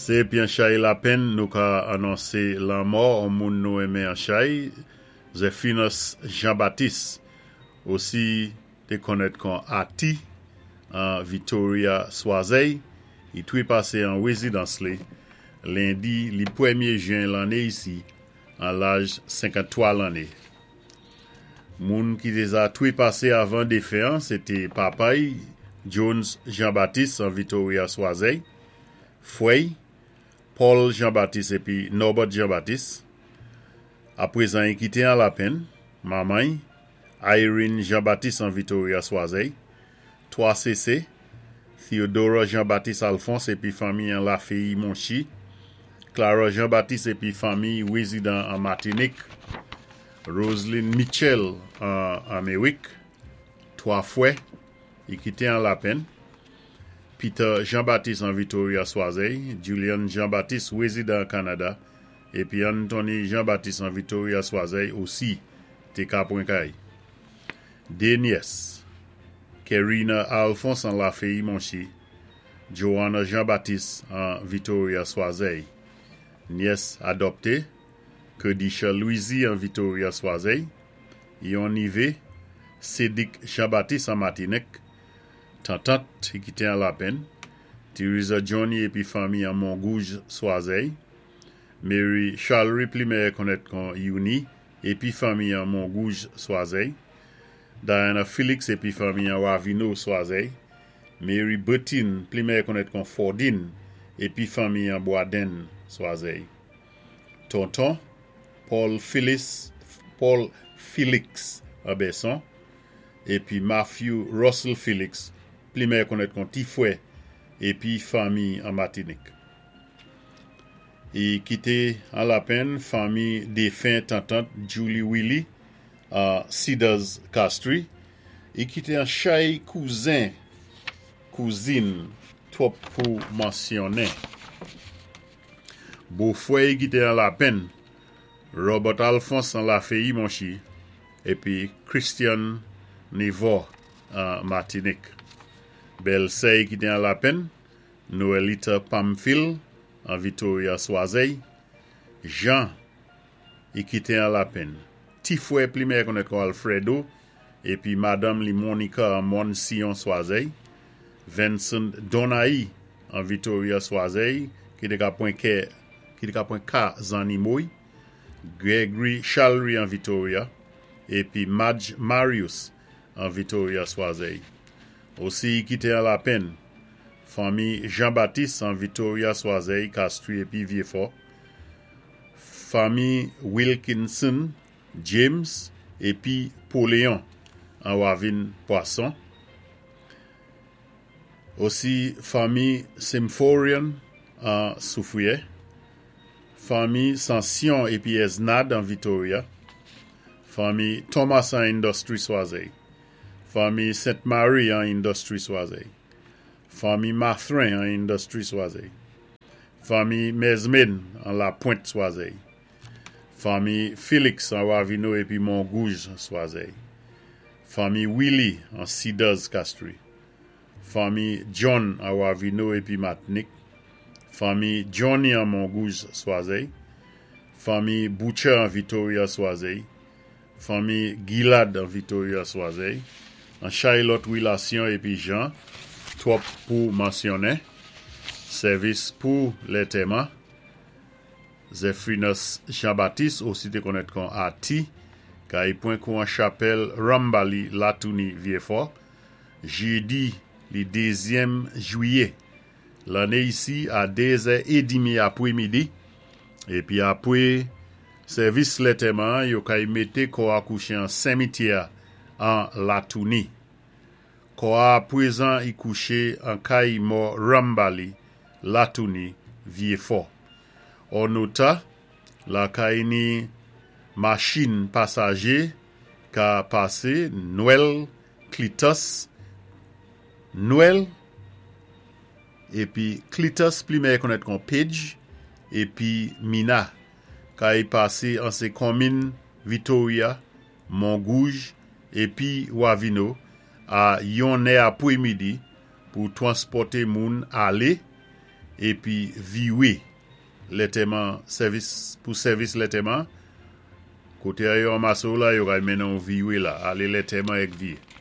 Sé épi an chay lapenn nou ka anonsé lanmò on moun nou enmen an chay, Zephinus Jean Baptiste, osi té konnèt kon Ati an Victoria Swazèy, i twépasé an wézidans li lendi li pwémyé jen lanné isi an laj 53 lanné. Moun ki déza twépasé avan défen an sé té papa'y Jones Jean Baptiste an Victoria Swazèy, fwè'y Paul Jean Baptiste épi Norbert Jean Baptiste. Apwézan i kité an lapenn, manman'y Irene Jean Baptiste an Victoria Swazèy, 3 sésé, Theodora Jean Baptiste Alphonse épi fanmi an Laféyi Monchi, Clara Jean Baptiste épi fanmi wézidan an Matinik, Roseline Mitchell an Améwik, 3 fwè, i kité an lapenn, Peter Jean Baptiste an Victoria Swazèy, Julian Jean Baptiste wézidan an Kanada, épi Anthony Jean Baptiste an Victoria Swazèy osi té ka pwen kay. Dé nyès, Kerina Alphonse an Laféyi Monchi, Joanna Jean Baptiste an Victoria Swazèy. Nyès adòpté, Kedisha Louisy an Victoria Swazèy, yon nivé, Cédic Jean Baptiste an Matinik, tantant i kité an lapenn, Theresa Johnny épi fanmi an Mongouj Swazèy, Mary Charlery pli méyè konnèt kon Youni épi fanmi an Mongouj Swazèy, Diana Felix épi fanmi an Ravino Swazèy, Mary Bertine pli méyè konnèt kon Fordine épi fanmi an Boisden Swazèy. Tonton, Paul Phyllis, Paul Felix an Bèson, épi Matthew Russell Felix pli méyè konnèt kon Ti Fwè épi fanmi an Matinik. I kité an lapenn fanmi défen tantant Julie Willy an Cedars Castries, i kité an chay kouzen, kouzin twòp pou mansyonnen. Bofwè i kité an lapenn, Robert Alphonse an Laféyi Monchi épi Christian Nivor an Matinik. Bèlsè i kité an lapenn, Noelita Pamphile an Victoria Swazèy, Jean i kité an lapenn, Ti Fwè pli méyè konnèt kon Alfredo épi madanm li Monica an Mòn Sion Swazèy, Vincent Donaï an Victoria Swazèy ki té ka pwen kè ki té ka pwen ka zannimo'y, Gregory Charlery an Victoria épi Madge Marius an Victoria Swazèy. Osi i kité an lapenn, fanmi Jean Baptiste an Victoria Swazèy, Castries épi Vieux-Fort, fanmi Wilkinson James épi Poléon an Wavin Pwason, osi fanmi Symphorian an Soufriè, fanmi Sansion épi Esnad an Victoria, fanmi Thomas an Industry Swazèy, fanmi Sainte Marie an Industry Swazèy, fanmi Mathrin an Industry Swazèy, fanmi Mesmin an La Pointe Swazèy, fanmi Felix an Ravino épi Mongouj Swazèy, fanmi Willy an Cedars Castries, fanmi John an Ravino épi Matinik, fanmi Johnny an Mongouj Swazèy, fanmi Butcher an Victoria Swazèy, fanmi Gilad an Victoria Swazèy, an chay lòt wilasyon épi jan, twòp pou mansyonnen, sèvis pou lètèman, Zephinus Jean Baptiste osi té konnèt kon Ati, kay pwen kou an chapèl Rambali Latouni Vieux-Fort, jédi li dézyèm jwiyé lanné isi a 2 zè édmi apwémidi, épi apwé sèvis lètèman an yo kay mété kò a kouché an senmityè an Latouni. Kò a apwézan i kouché an kay mò Rambali Latouni Vieux-Fort. Ònota, lakay ni machin pasajé ka pasé Nwèl Clitus Nwèl épi Clitus pli méyè konnèt kon Page épi Mina kay pasé an sé konmin Victoria, Mongouj épi Wavino a yon nè apwémidi pou twanspòté moun alé. épi Viwé lètèman sèvis pou sèvis lètèman. Koté a yo anmasé-w la, yo kay mennen-w Viwé la, alé lètèman èk Viwé.